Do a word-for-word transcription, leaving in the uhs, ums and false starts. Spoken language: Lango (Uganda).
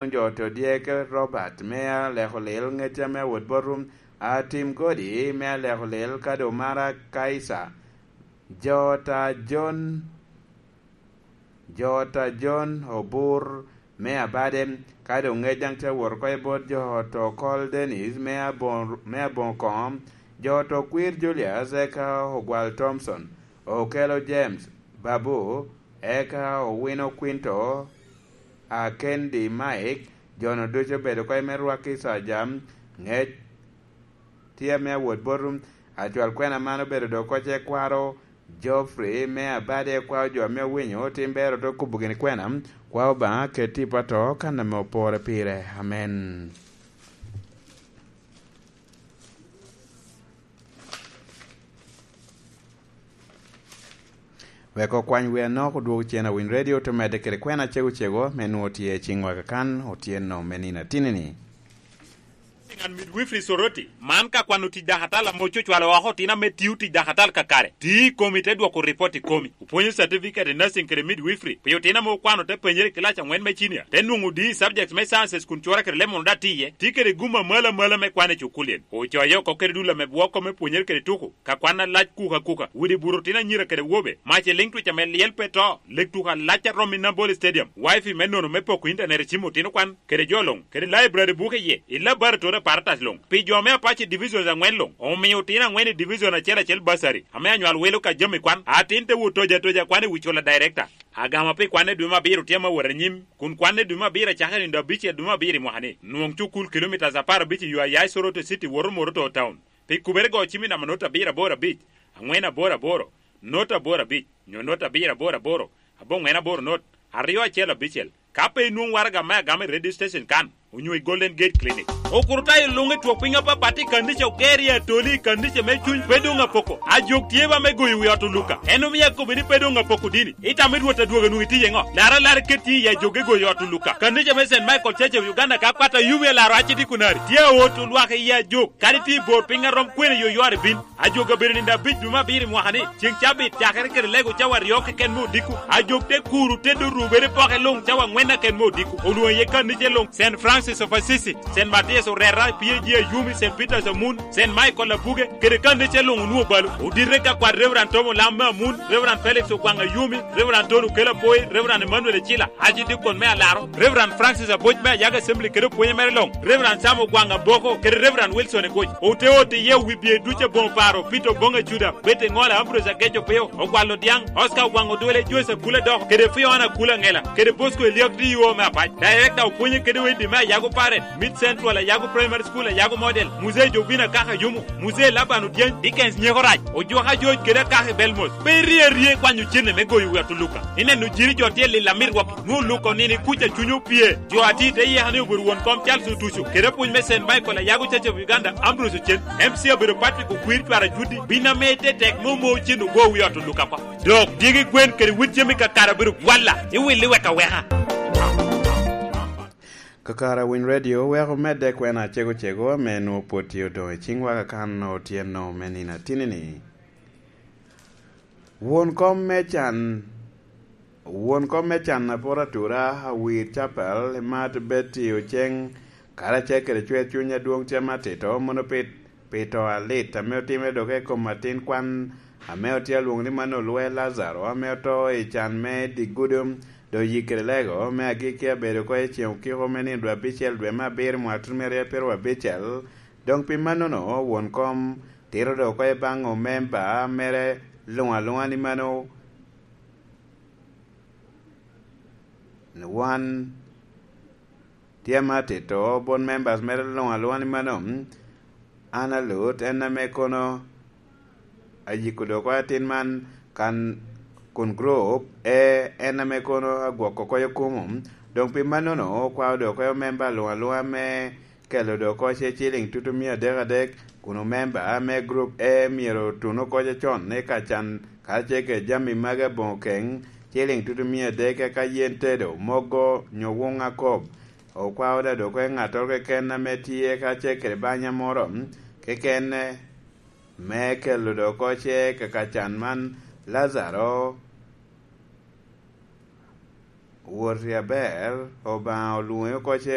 Jo to dyeke Robert me aleko lil, ŋecca me awot botum, Atim Godi me aleko lil, kado mara Kaisa, jo ta John, jo ta John Obur me Abade, kado ŋec daŋ ca wot oko i bot jo to Col Dennis me Abon-, me Aboŋo Koŋo, jo to Kwir Julius, eka Ogwal Thompson, Okelo James, Babu, eka Owino Quinto, a Kendi Mike, jo-nu ducu obedo oko i me rwaki ca jam, ŋec tye ame awot botum, acwal kwena man obedo dok oko ce kwaro, Geoffrey me Abade, kwao jo ame owinyo, tim bero te kubo gini kwena, kwao Obaŋa ket tipo ato kan ame opore pire. Amen. Wek okwany wi anok odwogo cen awiny redio, te medde kede kwena cego cego, me nwoŋo tye i ciŋwa kakan, otyeno me nino atini-ni. Ngan midwifery Soroti, man ka kwano tic dakatal ame ococwalo oko otino ame tio tic dakatal kakare. Ti i komi te dwoko ripot i komi. Opwonyo certificate i nursing kede midwifery pi otino ame okwano te penyere i kilac aŋwen me cinia, te nwoŋo D E subjects me sciences kun cura kede lemon oda tiye, ti kede gum amalo amalo me kwan i cukulien. Ocoye oko kede dul ame bwoko me pwonyere kede tuko, ka kwan alac kuka kuka, widi buto otino anyira kede awobe, mac i liŋ twic ame lyel pe to, lek tuko alac a romo i Nambole Stadium, wifi me nono me poko intanet i cim otino kwan, kede jo luŋ, kede library buke iye, i laboratory apparatus luŋ, pi jo ame apac i divisions aŋwen luŋ, omio otino aŋwen i division acel acel bursary, ame anywal wilo ka jami kwan, atin te wot toja toja kwan i wi cula director. Agama pi kwanne dwe me abiro tye ame awot anyim, kun kwanne dwe me abiro acakere nino abicel dwe me abiro i mwaka-ni. Nwoŋ cukul kilomitas apar abic i yo a ya i Soroti City woto Moroto Town. Pi kubere go cim i namba not abiro aboro abic, aŋwen aboro aboro, not aboro abic, nyo not abiro aboro aboro, aboŋwen aboro not, aryo acel abicel. Ka pe inwoŋ waraga me agama i radio station kan, onyo i Golden Gate Clinic. Okurutayo luŋ i twok piny apapat i kannica oger i Atoli i kannica me cuny pe doŋ apoko. Ajok tye ba me goyo wi ot Oluka. En omio akobo ni pe doŋ apoko dini. Itamo i Rwot adwogo nwoŋo itiye ŋo? Lar alar iket tye i ajok i goyo ot Oluka. Kannica me Saint Michael Church of Uganda ka kwat ayubi alaro aci dikunari. Tye aot olwak i ajok. Kadi tye i bor piny arom kwene yo ywar ibin. Ajok abedo nino abic dwe me abiro i mwaka-ni, ceŋ cabit cakere kede lego cawa aryo keken me odiko. Ajok te kuro te dorubere poke luŋ cawa aŋwen keken me odiko. Olwoŋo iye kannice luŋ, Saint Francis of Assisi, Saint Matthias Orera, P A G Ayumi, Saint Peter's Amun, Saint Michael Abuge, kede kannice luŋ onwoŋo balo. Odite ka kwat Reverend Tom Olam me Amun, Reverend Felix Ogwaŋ Ayumi, Reverend Tony Okello Apoi, Reverend Emmanuel Ecila, Archdeacon me Alaro, Reverend Francis Aboc me Ayago Assembly kede opwonye mere luŋ, Reverend Sam Ogwaŋ Aboko kede Reverend Wilson Egoc. Ote ote iye wi bye ducu aboŋo paro, Peter Oboŋ Acuda, Betty Ŋola, Ambrose Ageco Pio, Ogwal Odiaŋ, Oscar Ogwaŋ Odwele, Joyce Akula Dok, kede Fiona Akula Ŋela, kede Bosco Eliak D E O me Apac. Director opwonye kede Weddi me Ayago Parent, Mid Central, Ayago Primary School, Ayago Model, Muzee Jovina Kaka Yumu, Muzee Laban Odyeny, Dickens Nyeko Rac, Ojwaka George kede Akaka i Belmos. Pe irie arie i kwanyo cene me goyo wi ot Oluka. Ineno jiri jo tye lil amit rwaki, nwoŋo Oluka onino i kuca cuny opye. Jo atir te yeka ni obedo won kom Charles Otuco, kede apwony me Saint Michael Ayago Church of Uganda, Ambrose Ocen, M C obedo Patrick Okwir Cwara Judi, bin ame te tek me omo cen ogo wi ot Oluka kwa. Dok dyegi gwen kede wit jami kakare obedo gwalla, iwilli wek aweka. Kakare Winy Radio weko medde kwena cego cego ame nwoŋo pwod tye odoŋ i ciŋwa kakan otyeno me nino atini-ni. Won kom me can, won kom me can apor atura, Awir Capel, Imat Betty Oceng, karacel kede Cwer Cuny Adwoŋ Cem Atito, mono pi, pi to alit ame otimere dok i kom atin kwan ame otye alwoŋo ni Manolwe Lazaro, ame oto i can me Digudo, dok yik kede lego me agikki abedo oko i ceŋ okiko me nino dwe abicel dwe me abiro mwaka tutumere pyeraryo abicel. Doŋ pi mannono, won kom tito dok oko i baŋ omemba mere luŋ aluŋa ni mano, wan tye ame atito bot members mere luŋ aluŋa ni mano, an alut en ame kono ayiko dok oko atin man kan kun group E en ame kono agwoko oko kumo. Doŋ pi mannono, okwao dok oko omemba luŋ aluŋa me kelo dok oko ce ciliŋ tutu mia adek adek, kun omemba me group E myero otun oko ce con i ka can karacel kede jami magi aboŋo keŋ, ciliŋ tutu mia adek, eka yen tedo, mogo, nyo wuŋ akob. Okwao da dok oko i ŋattoro keken ame tye karacel kede banya moro kekene me kelo dok oko ce kaka can man, Lazaro Woti aber, Obaŋa olwoŋe oko ce.